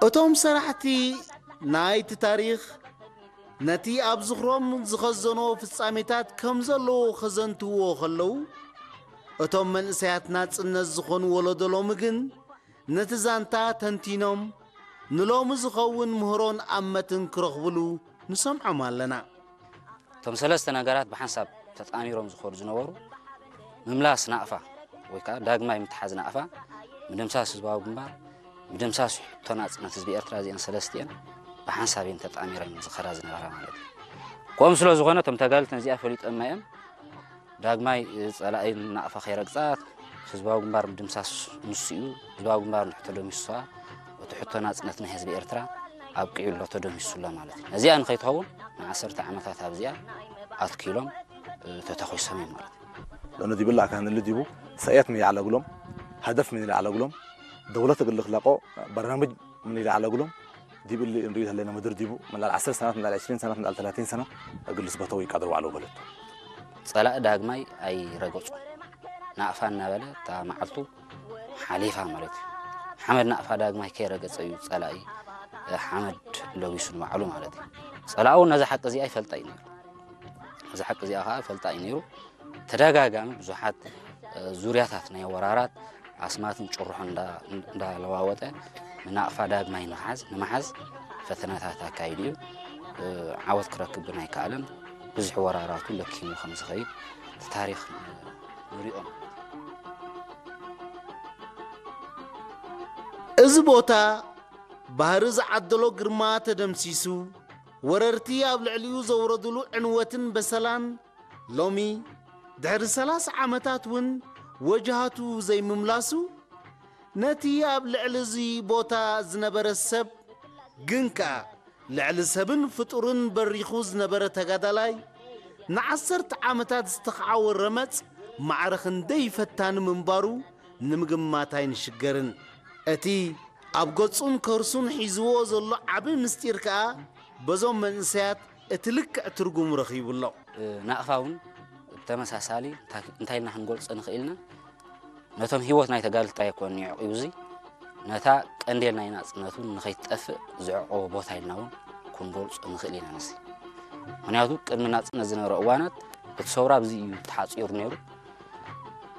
እቶም ሰራሕቲ ናይቲ ታሪኽ ነቲ ኣብ ዝኽሮም ዝኸዘኖ ፍጻሜታት ከም ዘለዎ ከዘንትዎ ከለዉ፣ እቶም መንእሰያት ናጽነት ዝኾኑ ወለዶ ሎሚ ግን ነቲ ዛንታ ተንቲኖም ንሎሚ ዝኸውን ምህሮን ኣመትን ክረኽብሉ ንሰምዖም ኣለና። እቶም ሰለስተ ነገራት ብሓንሳብ ተጣሚሮም ዝኸዱ ዝነበሩ፣ ምምላስ ናቕፋ ወይ ከዓ ዳግማይ ምትሓዝ ናቕፋ፣ ምድምሳስ ህዝባዊ ግንባር፣ ምድምሳስ ሕቶ ናጽነት ህዝቢ ኤርትራ፣ እዚአን ሰለስቲአን ብሓንሳብ እየን ተጣሚረን ዝኸዳ ዝነበራ ማለት እዩ። ከምኡ ስለ ዝኾነ እቶም ተጋልቲ ነዚኣ ፈሊጦማ እዮም። ዳግማይ ጸላኢ ናቕፋ ከይረግጻ ህዝባዊ ግንባር ምድምሳስ ንሱ እዩ። ህዝባዊ ግንባር ንሕቶ ደሚስሳ፣ እቲ ሕቶ ናጽነት ናይ ህዝቢ ኤርትራ ኣብቂዑ ኣሎ፣ ተደሚሱ ኣሎ ማለት እዩ። ነዚኣ ንኸይትኸውን ንዓሰርተ ዓመታት ኣብዚኣ ኣትኪሎም፣ እ፣ ተተኺሶም እዮም ማለት እዩ። لأنه دي بلا كان اللي ديبو سيئات من يعلى قلوم، هدف من يعلى قلوم، دولة قال لك لاقو برنامج من يعلى قلوم، دي باللي نريد هلنا مدر ديبو من العشر سنوات، من العشرين سنة، من الثلاثين سنة، أقول لسبته ويقدروا على بلد. ጸላኢ ዳግማይ ኣይረገጹ። ናቕፋ እናበለ እታ መዓልቱ ሓሊፋ ማለት እዩ። ሓመድ ናቕፋ ዳግማይ ከይረገጸ እዩ ጸላኢ፣ እ፣ ሓመድ ለቢሱ ንባዕሉ ማለት እዩ። ጸላኢ እውን ነዛ ሓቂ እዚኣ ይፈልጣ እዩ ነይሩ። ነዛ ሓቂ እዚኣ ከዓ ይፈልጣ እዩ ነይሩ። ተደጋጋሚ ብዙሓት፣ እ፣ ዙርያታት ናይ ወራራት ኣስማትን ጭርሖን እንዳ-፣ እንዳለዋወጠ ንናቕፋ ዳግማይ ንኽሓዝ፣ ንምሓዝ ፈተነታት ኣካይዱ እዩ። እ፣ ዓወት ክረክብ ግን ኣይከኣለን። ብዙሕ ወራራቱ ለኪሙ ከም ዝኸይድ እቲ ታሪኽ ንሪኦ ማለት እዩ። እዚ ቦታ ባህሪ ዝዓደሎ ግርማ ተደምሲሱ፣ ወረርቲ ኣብ ልዕሊኡ ዘውረድሉ ዕንወትን በሰላን ሎሚ ድሕሪ ሰላሳ ዓመታት እውን ወጅሃቱ ዘይምምላሱ፣ ነቲ ኣብ ልዕሊ እዚ ቦታ ዝነበረ ሰብ ግን ከኣ ልዕሊ ሰብን ፍጡርን በሪኹ ዝነበረ ተጋዳላይ ንዓሰርተ ዓመታት ዝተኻዕወ ረመጽ ማዕረ ክንደይ ፈታኒ ምንባሩ ንምግማት ኣይንሽገርን። እቲ ኣብ ገጹን ከርሱን ሒዝዎ ዘሎ ዓቢ ምስጢር ከኣ በዞም መንእሰያት እቲ ልክዕ ትርጉሙ ረኺቡ ኣሎ። ናቕፋ እውን ብተመሳሳሊ እንታይ፣ እንታይ ኢልና ክንገልጾ ንኽእል ኢና? ነቶም ህይወት ናይ ተጋድልቲ ኣይኮነን የዕቂቡ፣ እዚ ነታ ቀንዴል ናይ ናጽነት እውን ንኸይትጠፍእ ዘዕቆቦ ቦታ ኢልና እውን ክንገልጾ ንኽእል ኢና። ንሲ ምኽንያቱ ቅድሚ ናጽነት ዝነበረ እዋናት እቲ ሰውራ ኣብዚ እዩ ተሓጺሩ ነይሩ።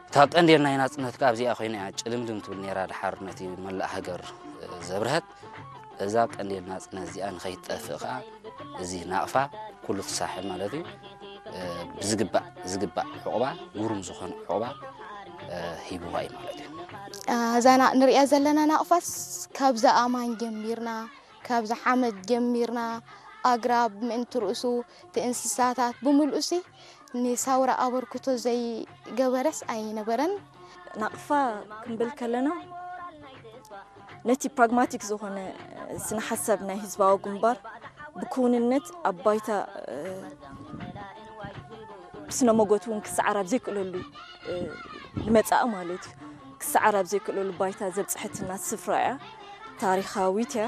እታ ቀንዴል ናይ ናጽነት ከኣ ኣብዚኣ ኮይና እያ ጭልምልም ትብል ነይራ፣ ድሓር ነቲ መላእ ሃገር፣ እ፣ ዘብርሀት። እዛ ቀንዴል ናጽነት እዚኣ ንኸይትጠፍእ ከኣ እዚ ናቕፋ ኩሉ እቲ ሳሕል ማለት እዩ፣ እ፣ ብዝግባእ፣ ዝግባእ ዕቑባ፣ ግሩም ዝኾነ ዕቑባ፣ እ፣ ሂብዋ እዩ ማለት እዩ። እዛ ና-፣ ንሪኣ ዘለና ናቕፋስ ካብዛ ኣማን ጀሚርና፣ ካብዛ ሓመድ ጀሚርና፣ ኣግራብ ምእንቲ ርእሱ፣ እቲ እንስሳታት ብምልኡሲ ንሳውራ ኣበርክቶ ዘይገበረስ ኣይነበረን። ናቕፋ ክንብል ከለና፣ ነቲ ፕራግማቲክ ዝኾነ ስነ ሓሳብ ናይ ህዝባዊ ግንባር ብክውንነት ኣብ ባይታ፣ እ፣ ብስነ መጎት እውን ክሰዓር ኣብ ዘይክእለሉ፣ እ፣ ንመጻኢ ማለት እዩ። ክሰዓር ኣብ ዘይክእለሉ ባይታ ዘብጽሐትና ስፍራ እያ። ታሪኻዊት እያ።